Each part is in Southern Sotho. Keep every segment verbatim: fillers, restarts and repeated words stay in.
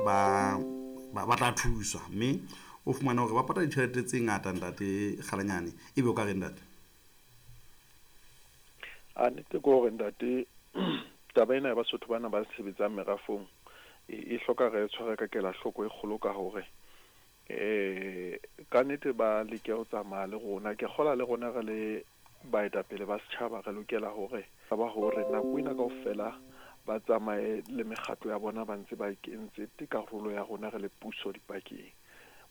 ba ba tla thuswa mme o fumana hore ba patala ditjhelete tse ngata ntate Kgalanyane ebe o ka re ntate a nnete ke hore ntate taba ena ya Basotho bana ba sebetsang merafong e hloka re tshware ka kelahloko e kgolo ka hore eh ka nnete ba leke ho tsamaya le rona. Ke kgola le rona re le baetapele ba setjhaba re lokela hore ba hore nako ena kaofela ba tsamaye le mekgatlo ya bona ba ntse ba kentse karolo ya rona re le puso dipakeng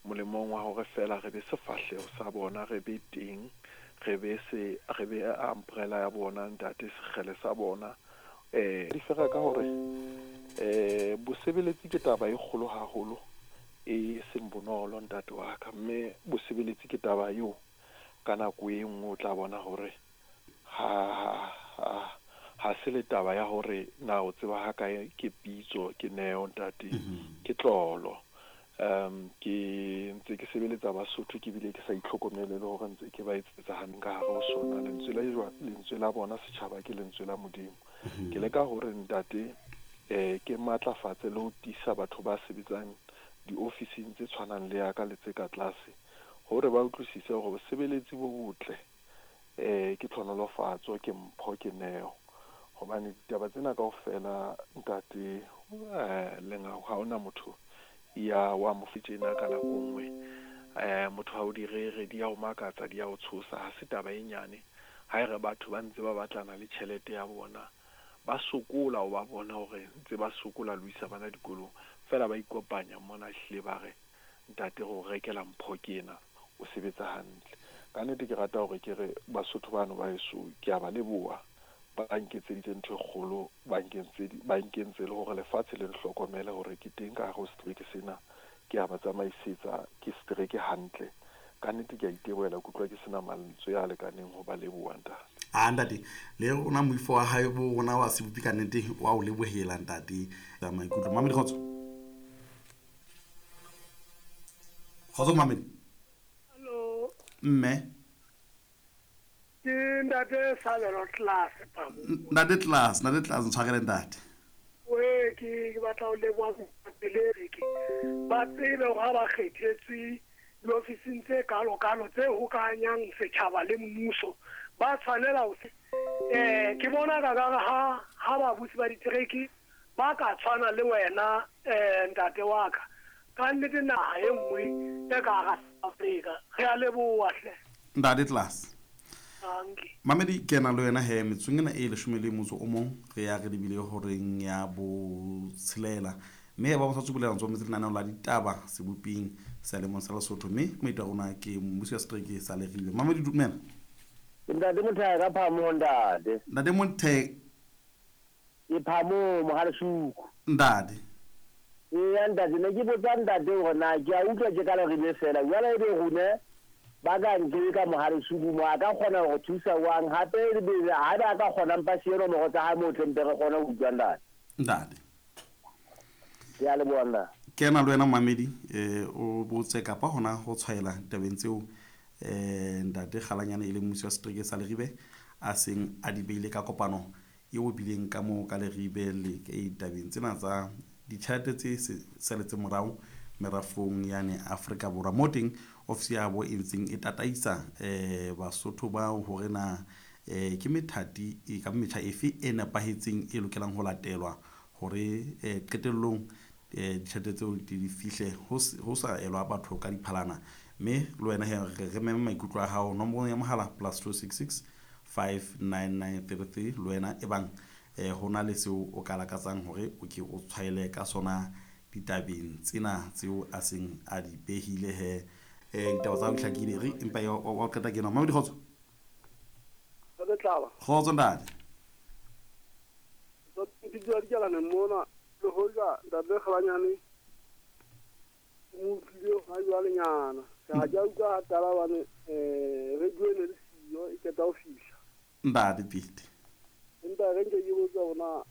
molemong wa hore fela re be sefahleho sa bona, re be teng, re be se re be umbrella ya bona ntate, sekgele sa bona. Eh di fera ka hore eh bosebeletsi ke taba e kgolo haholo e seng bonolo ntate wa ka, mme bosebeletsi ke taba eo ka nako e nngwe o tla bona hore ha ha ha se le taba ya hore na o tseba ha kae ke pitso ke neo ntate ke tlolo. Um ke ntse ke sebeletsa Basotho ke bile ke sa itlhokomele le hore ntse ke ba etsetsa hantle ka hare ho sona. Lentswe la lentswe la bona setjhaba ke lentswe la Modimo. Ke leka hore ntate eh ke matlafatse le ho tiisa batho ba sebetsang diofising tse tshwanang le ya ka le tse ka tlase hore ba utlwisise hore bosebeletsi bo botle eh ke tlhonolofatso, ke mpho, ke neo. Hobane ditaba tsena kaofela ntate eh lenga ha ona motho ya wa mo fitjena ka nako nngwe eh motho ha o di rere di ya o makatsa, di ya o tshosa. Ha se taba e nyane ha e re batho ba ntse ba batlana le tjhelete ya bona, ba sokola o ba bona hore ntse ba sokola lo isa bana dikolong fela ba ikopanya mona hle ba re ntate go rekela mpho ke ena o sebetsa hantle. Ka nnete ke rata hore ke re Basotho bano ba heso ke a ba leboha, ba nketseditse ntho e kgolo, ba nkentse ba nkentse le hore lefatshe le nhlokomele hore ke teng ka hare ho setereke sena, ke a ba tsamaisetsa ke setereke hantle. Ka nnete ke a itebohela, ke utlwa ke sena mantswe a lekaneng ho ba leboha ntate. A ntate le rona moifo wa hae bo rona wa sebopi ka nnete wa o lebohela ntate. Maikutlo Mamedi kgotso. Kgotso Mamedi. Hello. Mme ke ntate Sabelo Class pamo. Ntate Class, ntate Class ntshwarele ntate. We ke ke batla ho leboha pele ke ba tsebe hore ha ba kgethetswe diofising tse kalo kalo tse hokahanyang setjhaba le mmuso ba tshwanela ho eh ke bona ka ka ha ha babusi ba ditereke ba ka tshwana le wena eh ntate wa ka ka nnete naha e nngwe e ka hara Afrika. Re a leboha hle ntate Class. Mamedi ke na le wena he metsong ena e leshome le motso o mong re ya re lebile horeng ya botshelela mme ba sa tsubulela ntso metse lenaneo la ditaba seboping sa lemong sa Lesotho mme moeti wa rona ke mmusi wa setereke sa Leribe. Mamedi dumela. Ntate Motheka ka phamo ntate. Ntate Motheka ke phamo Mohalesuku. Ntate. Ee ntate ne ke botsa ntate hore na ke a utlwa ke ka Leribe fela jwale ebe rone ba ka nke ka Mohalesuku mo a ka kgona ho thusa wang hape ebe ha ba ka kgona mpa siyo nomoro tsa hae mo tlempe re kgone ho utlwa ntate. Ntate. Ke a leboha nna. Ke na le wena Mamedi eh o botse kapa hona ho tshwaela tabeng tseo eh ntate Kgalanyane e le mmusi wa setereke sa Leribe a seng a di beile ka kopano eo bileng ka mo ka Leribe le ke tabeng tsena tsa ditjhelete tse saletseng morao merafong yane Afrika Borwa mo teng ofisi ya bo e ntseng e tataisa eh Basotho ba hore na eh ke methati e ka metjha efe e nepahetseng e lokelang ho latelwa hore eh qetellong eh ditjhelete tseo di fihle ho sa elwa batho ka diphalana. Mme le wena he re meme maikutlo a hao nomoro ya mohala plus two six six five nine nine three three le wena e bang eh hona le seo o ka lakatsang hore o ke o tshwaele ka sona ditabeng tsena tseo a seng a di behile he eh ditaba tsa ho hlakile re empa wa qeta ke nna Mamedi kgotso. Ntate Tlaba. Kgotso ntate. Ke dula dikalane mona le hoja ntate Kgalanyane mo utlwile ha jwalenyana ka ja utlwa taba bane eh radio e ne le siyo e qeta ho fihla ntate Pete. Empa re nke ke botsa hore na